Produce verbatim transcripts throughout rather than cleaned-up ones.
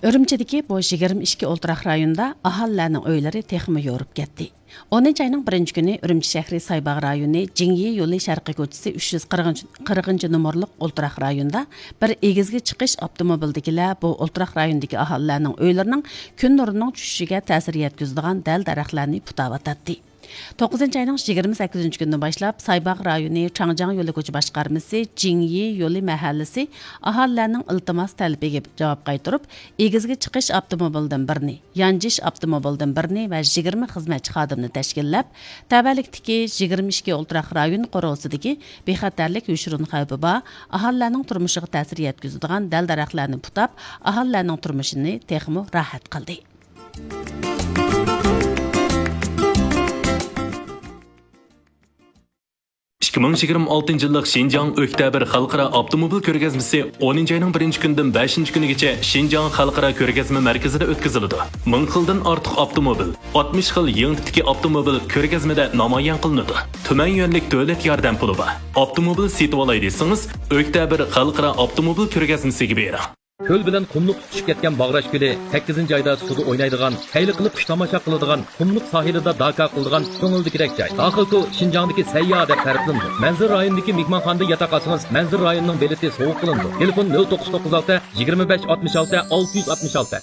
ئۈرۈمچىدىكى بۇ يىگىرمە ئىككى ئولتۇراق رايوندا ئاھالىلەرنىڭ ئۆيلىرى تېخىمۇ يورۇپ كەتتى. ئونىنچى ئاينىڭ بىرىنچى كۈنى ئۈرۈمچى شەھىرى سايباغ رايونى جىڭيى يولى شەرقىي كوچىسى ئۈچ يۈز قىرىقىنچى نومۇرلۇق ئولتۇراق رايوندا بىر ئېگىزگە چىقىش ئاپتوموبىلدىكىلەر بۇ ئولتۇراق رايوندىكى ئاھالىلەرنىڭ ئۆيلىرىنىڭ كۈن نۇرىنىڭ چۈشۈشىگە تەسىر يەتكۈزىدىغان دەل-دەرەخلەرنى پۇتاۋاتاتتى. توققۇزىنچى ئاينىڭ يىگىرمە سەككىزىنچى كۈنىدىن باشلاپ، سايباغ رايونى چاڭجياڭ يولى كوچا باشقارمىسى جىڭيى يولى مەھەللىسى ئاھالىلەرنىڭ ئىلتىماس تەلىپىگە جاۋاب قايتۇرۇپ، ئېگىزگە چىقىش ئاپتوموبىلىدىن بىرنى، يانجىش ئاپتوموبىلىدىن بىرنى ۋە يىگىرمە خىزمەتچى خادىمنى تەشكىللەپ، تەۋەلىكتىكى يىگىرمە ئىككى ئولتۇراق رايون قورۇسىدىكى بىخەتەرلىك يوشۇرۇن خەۋپى بار، ئاھالىلەرنىڭ تۇرمۇشىغا تەسىر يەتكۈزىدىغان دەل-دەرەخلەرنى پۇتاپ، ئاھالىلەرنىڭ تۇرمۇشىنى تېخىمۇ راھەت قىلدى. ئىككى مىڭ يىگىرمە ئالتىنچى يىللىق شىنجاڭ ئۆكتەبىر خەلقئارا ئاپتوموبىل كۆرگەزمىسى ئونىنچى ئاينىڭ بىرىنچى كۈنىدىن بەشىنچى كۈنىگىچە شىنجاڭ خەلقئارا كۆرگەزمە مەركىزىدە ئۆتكۈزۈلىدۇ. مىڭ خىلدىن ئارتۇق ئاپتوموبىل، ئاتمىش خىل يېڭى تىپتىكى ئاپتوموبىل كۆرگەزمىدە نامايان قىلىنىدۇ. تۈمەن يۈەنلىك دۆلەت ياردەم پۇلى بار. ئاپتوموبىل سېتىۋالاي دېسىڭىز، ئۆكتەبىر خەلقئارا ئاپتوموبىل كۆرگەزمىسىگە بېرىڭ. كۆل بىلەن قۇملۇق تۇتىشىپ كەتكەن باغراش كۆلى، سەككىزىنچى ئايدا سۇدا ئوينايدىغان، خەيلى قىلىپ قۇش تاماشا قىلىدىغان، قۇملۇق ساھىلىدا داكا قىلىدىغان كۆڭۈلدىكىدەك جاي. داخىلكو شىنجاڭدىكى سەيياھ دەپ تەرىپلىنىدۇ. مەنزىرە رايونىدىكى مېھمانخانىدا ياتاق ئالسىڭىز، مەنزىرە رايونىنىڭ بېلىتى سوۋغا قىلىنىدۇ. تېلېفون: نۆل توققۇز توققۇز ئالتە، يىگىرمە بەش ئاتمىش ئالتە، ئالتە يۈز ئاتمىش ئالتە.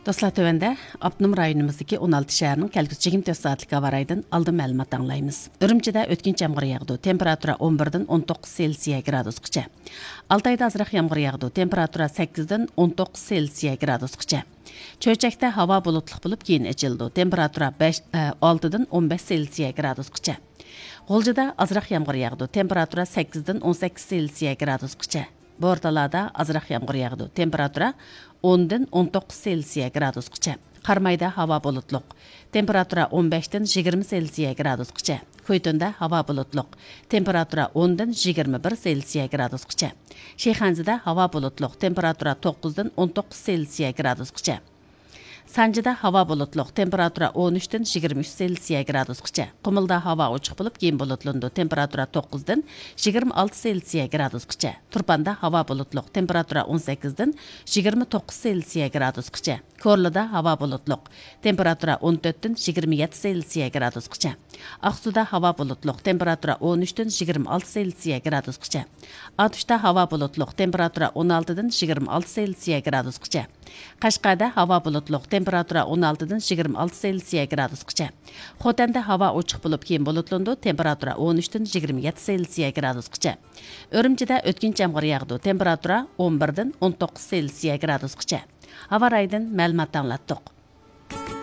دوستلار، تۆۋەندە ئاپتونوم رايونىمىزدىكى ئون ئالتە شەھەرنىڭ كەلگۈسى يىگىرمە تۆت سائەتلىك ھاۋا رايىدىن ئالدىن مەلۇمات ئاڭلايمىز. ئۈرۈمچىدە ئۆتكۈنچى يامغۇر ياغىدۇ، تېمپېراتۇرا ئون بىردىن ئون توققۇز سېلسىيە گرادۇسقىچە. ئالتايدا ئازراق يامغۇر ياغىدۇ، تېمپېراتۇرا سەككىزدىن ئون توققۇز سېلسىيە گرادۇسقىچە. چۆچەكتە ھاۋا بۇلۇتلۇق بولۇپ، كېيىن ئېچىلىدۇ، تېمپېراتۇرا بەش، ئە، ئالتىدىن ئون بەش سېلسىيە گرادۇسقىچە. غۇلجىدا ئازراق يامغۇر ياغىدۇ، تېمپېراتۇرا سەككىزدىن ئون سەككىز سېلسىيە گرادۇسقىچە. بورتالادا ئازراق يامغۇر ياغىدۇ، تېمپېراتۇرا ئوندىن ئون توققۇز سېلسىيە گرادۇسقىچە. قارامايدا ھاۋا بۇلۇتلۇق، تېمپېراتۇرا ئون بەشتىن يىگىرمە سېلسىيە گرادۇسقىچە. كۇيتۇندا ھاۋا بۇلۇتلۇق، تېمپېراتۇرا ئوندىن يىگىرمە بىر سېلسىيە گرادۇسقىچە. شىخەنزىدە ھاۋا بۇلۇتلۇق، تېمپېراتۇرا توققۇزدىن ئون توققۇز سېلسىيە گرادۇسقىچە. سانجىدا ھاۋا بۇلۇتلۇق، تېمپېراتۇرا ئون ئۈچتىن يىگىرمە ئۈچ سېلسىيە گرادۇسقىچە. قۇمۇلدا ھاۋا ئوچۇق بولۇپ، كېيىن بۇلۇتلىنىدۇ، تېمپېراتۇرا توققۇزدىن يىگىرمە ئالتە سېلسىيە گرادۇسقىچە. تۇرپاندا ھاۋا بۇلۇتلۇق، تېمپېراتۇرا ئون سەككىزدىن يىگىرمە توققۇز سېلسىيە گرادۇسقىچە. كورلىدا ھاۋا بۇلۇتلۇق، تېمپېراتۇرا ئون تۆتتىن يىگىرمە يەتتە سېلسىيە گرادۇسقىچە. ئاقسۇدا ھاۋا بۇلۇتلۇق، تېمپېراتۇرا ئون ئۈچتىن يىگىرمە ئالتە سېلسىيە گرادۇسقىچە. ئاتۇشتا ھاۋا بۇلۇتلۇق، تېمپېراتۇرا ئون ئالتىدىن يىگىرمە ئالتە سېلسىيە گرادۇسقىچە. قەشقەردە ھاۋا بۇلۇتلۇق، تېمپېراتۇرا ئون ئالتىدىن يىگىرمە ئالتە سېلسىيە گرادۇسقىچە. خوتەندە ھاۋا ئوچۇق بولۇپ، كېيىن بۇلۇتلىنىدۇ، تېمپېراتۇرا ئون ئۈچتىن يىگىرمە يەتتە سېلسىيە گرادۇسقىچە. ئۈرۈمچىدە ئۆتكۈنچى يامغۇر ياغىدۇ، تېمپېراتۇرا ئون بىردىن ئون توققۇز سېلسىيە گرادۇسقىچە. ھاۋا رايىدىن مەلۇمات ئاڭلاتتۇق.